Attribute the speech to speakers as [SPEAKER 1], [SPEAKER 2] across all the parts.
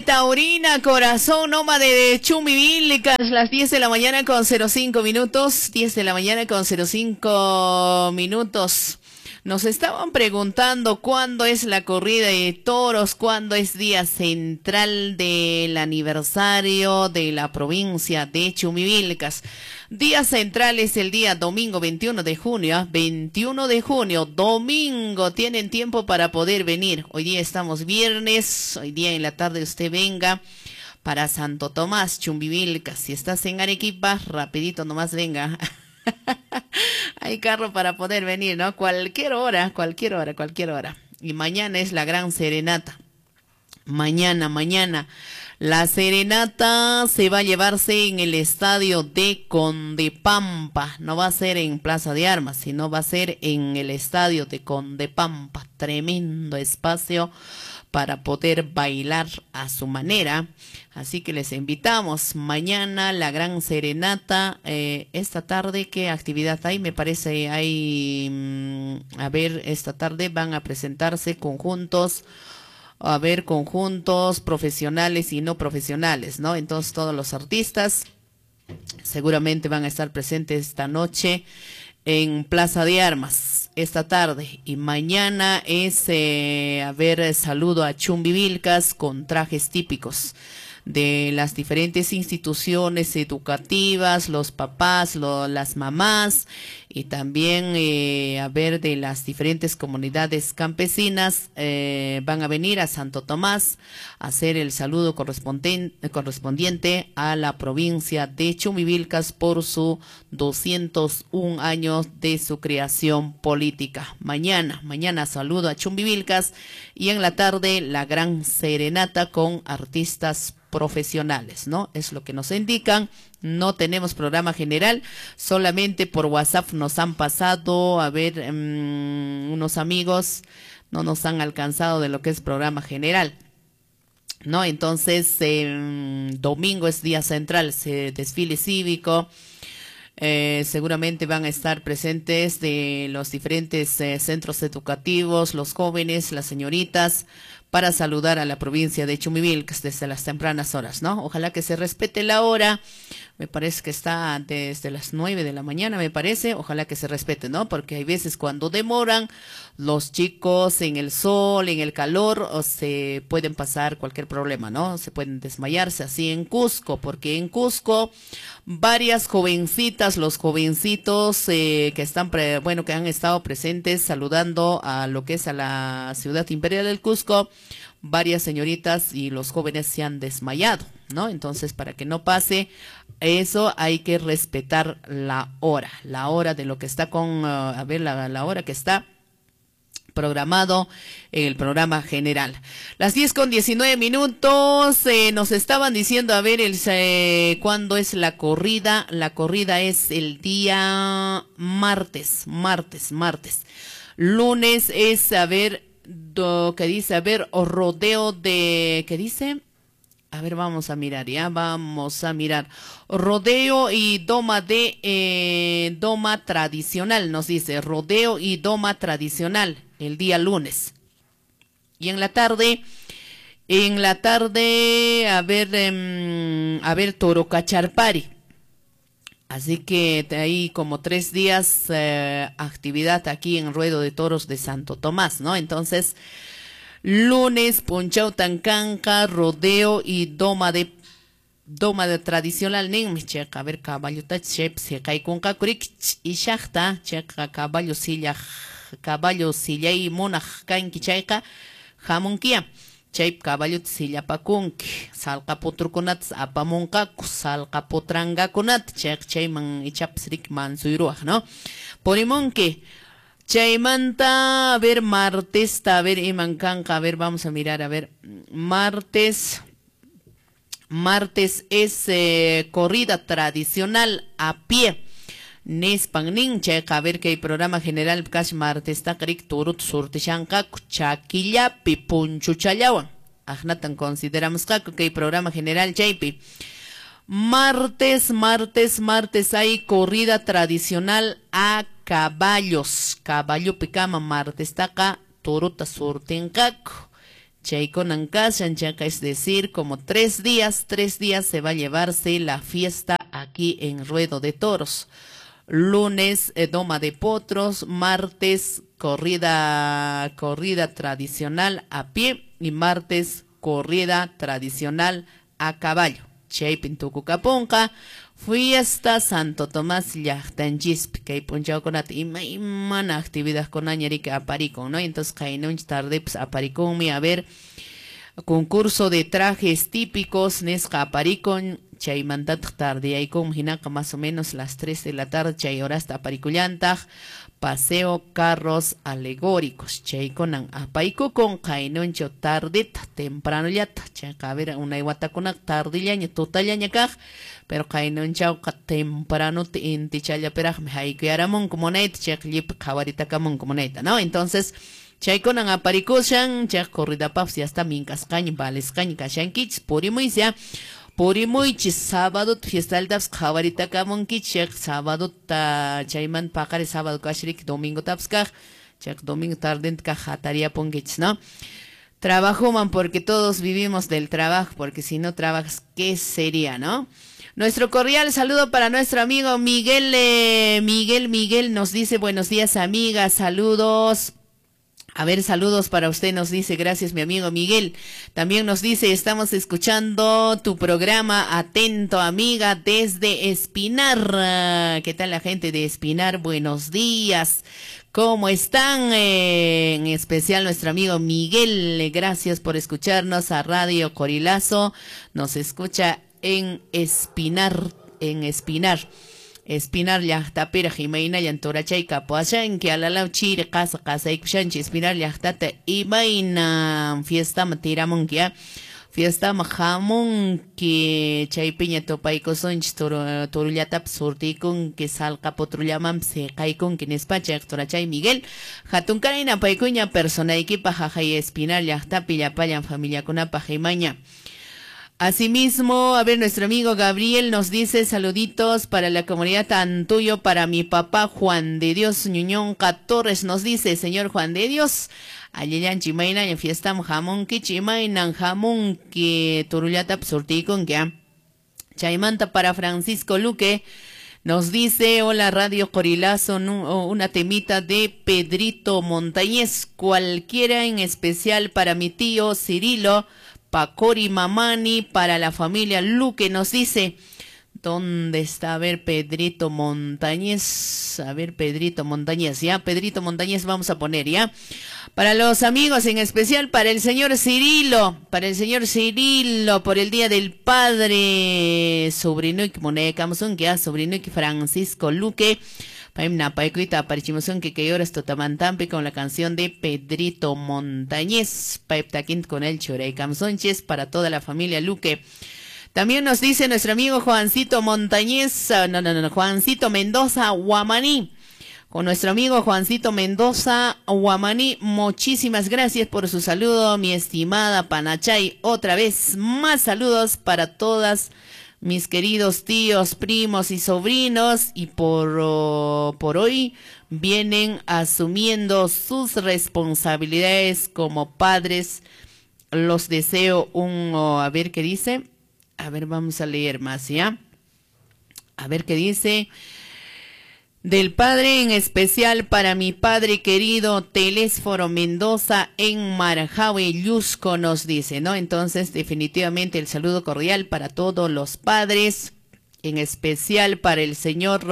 [SPEAKER 1] Taurina, corazón nómade de Chumbivilcas, las 10 de la mañana con 05 minutos, 10 de la mañana con 05 minutos. Nos estaban preguntando cuándo es la corrida de toros, cuándo es día central del aniversario de la provincia de Chumbivilcas. Día central es el día domingo 21 de junio, 21 de junio, domingo, tienen tiempo para poder venir. Hoy día estamos viernes, hoy día en la tarde usted venga para Santo Tomás, Chumbivilcas. Si estás en Arequipa, rapidito nomás venga. Hay carro para poder venir, ¿no? Cualquier hora, cualquier hora, cualquier hora. Y mañana es la gran serenata. Mañana, mañana. La serenata se va a llevarse en el estadio de Condepampa. No va a ser en Plaza de Armas, sino va a ser en el estadio de Condepampa. Tremendo espacio para poder bailar a su manera. Así que les invitamos mañana la gran serenata. Esta tarde, ¿qué actividad hay? Me parece hay, a ver, esta tarde van a presentarse conjuntos, a ver, conjuntos profesionales y no profesionales, ¿no? Entonces todos los artistas seguramente van a estar presentes esta noche en Plaza de Armas esta tarde. Y mañana es, a ver, saludo a Chumbivilcas con trajes típicos de las diferentes instituciones educativas, los papás, las mamás y también, a ver, de las diferentes comunidades campesinas, van a venir a Santo Tomás a hacer el saludo correspondiente a la provincia de Chumbivilcas por su 201 años de su creación política. Mañana, mañana saludo a Chumbivilcas y en la tarde la gran serenata con artistas profesionales, ¿no? Es lo que nos indican. No tenemos programa general, solamente por WhatsApp nos han pasado, a ver, unos amigos no nos han alcanzado de lo que es programa general, ¿no? Entonces, domingo es día central, desfile cívico. Seguramente van a estar presentes de los diferentes centros educativos, los jóvenes, las señoritas, para saludar a la provincia de Chumbivilcas desde las tempranas horas, ¿no? Ojalá que se respete la hora. Me parece que está desde las 9 de la mañana, me parece. Ojalá que se respete, ¿no? Porque hay veces cuando demoran los chicos en el sol, en el calor, o se pueden pasar cualquier problema, ¿no? Se pueden desmayarse así en Cusco, porque en Cusco varias jovencitas, los jovencitos que están, bueno, que han estado presentes saludando a lo que es a la ciudad imperial del Cusco, varias señoritas y los jóvenes se han desmayado, ¿no? Entonces, para que no pase eso, hay que respetar la hora de lo que está con, a ver, la hora que está programado en el programa general. Las 10:19, nos estaban diciendo, a ver, cuándo es la corrida. La corrida es el día martes, martes, martes. Lunes es, a ver, que dice, a ver, o rodeo de, ¿qué dice? A ver, vamos a mirar, ya, vamos a mirar. Rodeo y doma de, doma tradicional, nos dice, rodeo y doma tradicional, el día lunes. Y en la tarde, a ver, Toro Cacharpari. Así que hay como 3 días actividad aquí en Ruedo de Toros de Santo Tomás, ¿no? Entonces, lunes, Punchau Tancanca, rodeo y doma de tradicional ninmi cheqa, a ver, caballo ta chep se kaikunqa kurik ishaqta cheqa caballo silla sillay munaq kanki chayqa hamunkiya. Chay caballo sillapakunki, salqa putrukunata apamunqaku, salqa putrangakunata, chayqa chayman ichapas rik mansuyruwaq, ¿no? Purimunki. Chaymanta, a ver, martesta, a ver, iman kanqa, a ver, vamos a mirar, a ver, martes es corrida tradicional a pie. Nispan nin, chayqa, a ver, que hay programa general kash martesta rik turut surtishanqaku chakillapi punchuchallawan. Ajnatan consideramos que hay programa general chaypi. Martes, martes, martes hay corrida tradicional a caballos. Caballo picama martestaqa turuta surtinqaku. Chaykunan kashan, chayqa es decir, como 3 días, 3 días se va a llevarse la fiesta aquí en Ruedo de Toros. Lunes, doma de potros, martes, corrida tradicional a pie y martes, corrida tradicional a caballo. Chaypin tukukapunqa fiesta Santo Tomás llaqtanchispi. Kay p'unchawkunata imaymana actividadkunaña riki aparikun, ¿no? Entonces qaynunchik tardepis aparikunmi, a ver, concurso de trajes típicos nisqa aparikun, chaymantataq tardeyaykunmi hinaqa más o menos las 3 de la tarde, chay horasta aparikullantaq paseo carros alegóricos, chaykunan apaykukun qaynunchaw tardeta tempranollata. Chayqa a ver, unay watakunaqa tardillaña tutallaña kaq, pero qaynunchawqa tempranota intichallapiraqmi haykuyaramunku munayta, chayqa llipi qhawaritakamunku munayta, ¿no? Entonces chaykunan aparikushan, chay corridapaqpas ya está minkasqaña, valisqaña kashankichis, purimuysi, purimuychis sábado fiestaltapas qhawaritakamunkichik, sábado chaymanta paqari sábado kashriki domingotapas kaq, chayqa domingo tardenta kaq hatariyapunkichis, ¿no? Trabajuman porque todos vivimos del trabajo, porque si no trabajas, ¿qué sería, no? Nuestro cordial saludo para nuestro amigo Miguel, Miguel, Miguel nos dice buenos días, amiga, saludos. A ver, saludos para usted, nos dice, gracias mi amigo Miguel. También nos dice, estamos escuchando tu programa, atento amiga, desde Espinar. ¿Qué tal la gente de Espinar? Buenos días. ¿Cómo están? En especial nuestro amigo Miguel, gracias por escucharnos a Radio Corilazo. Nos escucha en Espinar, en Espinar. Espinar llaqtapiraq imaynallan turachay kapuashanki, alalaw chiri qasa qasaykushanchi Espinar llaqtata, imayna fiestaman tiramunki, ya fiestaman hamunki, chaypiña tupaykusunchis, turullatapas surtiykunki, salqa potrullamanpas siqaykunki nispa. Chayqa turachay Miguel, hatunkaray napaykuña personaykipaq, haqay Espinar llaqtapi llapallan familiakunapaq imaña. Asimismo, a ver, nuestro amigo Gabriel nos dice saluditos para la comunidad Tantuyo, para mi papá Juan de Dios Ñuñonca Torres, nos dice, señor Juan de Dios, allillanchi imayna en fiesta hamunkichi, imaynan hamunki, turullata surtiykunki. Chaymanta para Francisco Luque, nos dice, hola Radio Corilazo, una temita de Pedrito Montañez, cualquiera, en especial para mi tío Cirilo Pacori Mamani, para la familia Luque, nos dice. ¿Dónde está? A ver, Pedrito Montañez. A ver, Pedrito Montañez, ya, Pedrito Montañez vamos a poner, ya. Para los amigos, en especial para el señor Cirilo, para el señor Cirilo, por el Día del Padre, sobrinuki munaykamusunki, ya, sobrinuki Francisco Luque. Paymi napaykuyta aparichimusunki kay horas tutamantampi con la canción de Pedrito Montañez. Paypa takinta con el churaykamusunchis para toda la familia Luque. También nos dice nuestro amigo Juancito Montañez, ah, no, no, no, Juancito Mendoza Guamaní. Con nuestro amigo Juancito Mendoza Guamaní, muchísimas gracias por su saludo, mi estimada Panachay. Otra vez, más saludos para todas mis queridos tíos, primos y sobrinos, y por hoy vienen asumiendo sus responsabilidades como padres. Los deseo un, oh, a ver qué dice. A ver, vamos a leer más, ¿ya? A ver qué dice. Del padre, en especial para mi padre querido Telésforo Mendoza en Marjahue, Llusco, nos dice, ¿no? Entonces, definitivamente el saludo cordial para todos los padres, en especial para el señor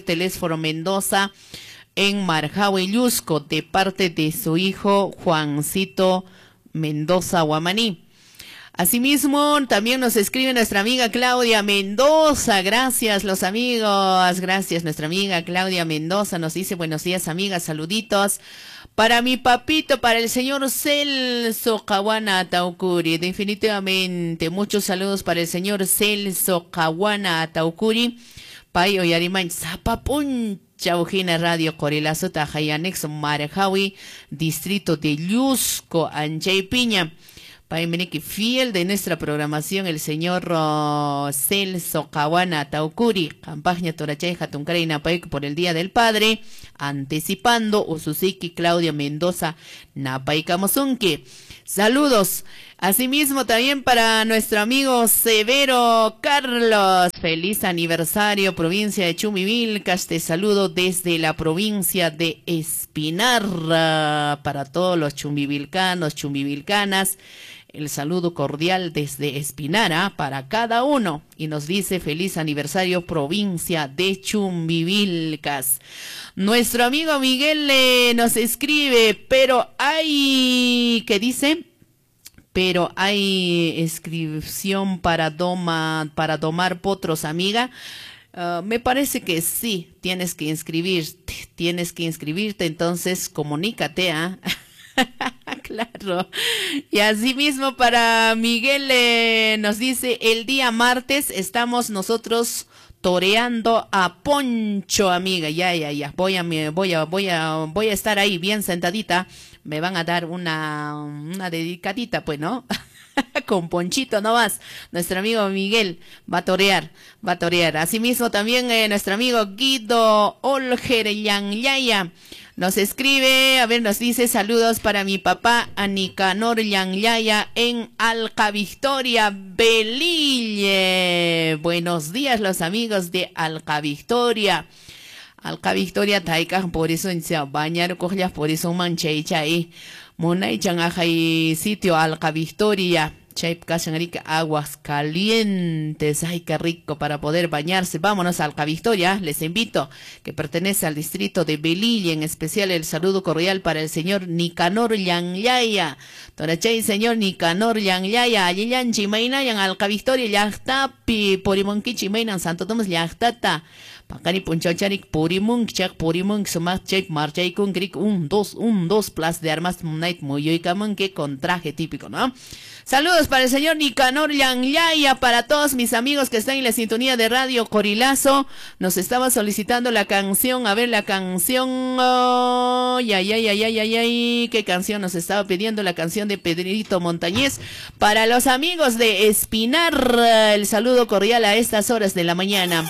[SPEAKER 1] Telésforo Mendoza en Marjahue, Llusco, de parte de su hijo Juancito Mendoza Guamaní. Asimismo, también nos escribe nuestra amiga Claudia Mendoza. Gracias, los amigos. Gracias, nuestra amiga Claudia Mendoza nos dice buenos días, amigas, saluditos. Para mi papito, para el señor Celso Caguana Ataucuri. Definitivamente, muchos saludos para el señor Celso Caguana Ataucuri. Pay uyariman sapa p'unchaw hina Radio Corilazo anexo Marjawi, distrito de Llusco, Anchaypiña. Payminiki fiel de nuestra programación, el señor Celso Caguana Taucuri, campaña Torachay Hatunkaray Napayku por el Día del Padre, anticipando Ususiki Claudia Mendoza Napaykamusunki. Saludos. Asimismo también para nuestro amigo Severo Carlos. Feliz aniversario, provincia de Chumbivilcas. Te saludo desde la provincia de Espinar. Para todos los chumbivilcanos, chumbivilcanas. El saludo cordial desde Espinara para cada uno. Y nos dice feliz aniversario, provincia de Chumbivilcas. Nuestro amigo Miguel nos escribe, pero hay, ¿qué dice? Pero hay inscripción para domar potros, amiga. Me parece que sí, tienes que inscribirte, entonces comunícate, ¿ah? Claro. Y asimismo para Miguel nos dice, el día martes estamos nosotros toreando a Poncho, amiga. Ya. Voy a estar ahí bien sentadita. Me van a dar una dedicadita, pues, ¿no? Con Ponchito nomás. Nuestro amigo Miguel va a torear, va a torear. Asimismo también nuestro amigo Guido Olger Yanyaya nos escribe, a ver, nos dice saludos para mi papá Anicanor Yanyaya en Alca Victoria, Belille. Buenos días los amigos de Alca Victoria. Alca Victoria taika por eso en bañar cojas por eso manchay chay. Munaychan ajay sitio Alca Victoria. Chay kashan aguas calientes. Ay, qué rico para poder bañarse. Vámonos a Alca Victoria. Les invito, que pertenece al distrito de Belille. En especial el saludo cordial para el señor Nicanor Yanyaya. Torachay, señor Nicanor Yanyaya. Allillan chimaynayan Alca Victoria llaqtapi purimunki chimaynan Santo Tomás llaqtata. Pakani punchacharik purimunk chak purimunk sumaq chay marchaykun krik 1 2 1 2 Plaza de Armas night muyuykamunki con traje típico, ¿no? Saludos para el señor Nicanor Yanyaya, para todos mis amigos que están en la sintonía de Radio Corilazo. Nos estaba solicitando la canción, a ver la canción, oh, ay, ay, ay, ay, ay, ay, qué canción nos estaba pidiendo, la canción de Pedrito Montañez. Para los amigos de Espinar, el saludo cordial a estas horas de la mañana.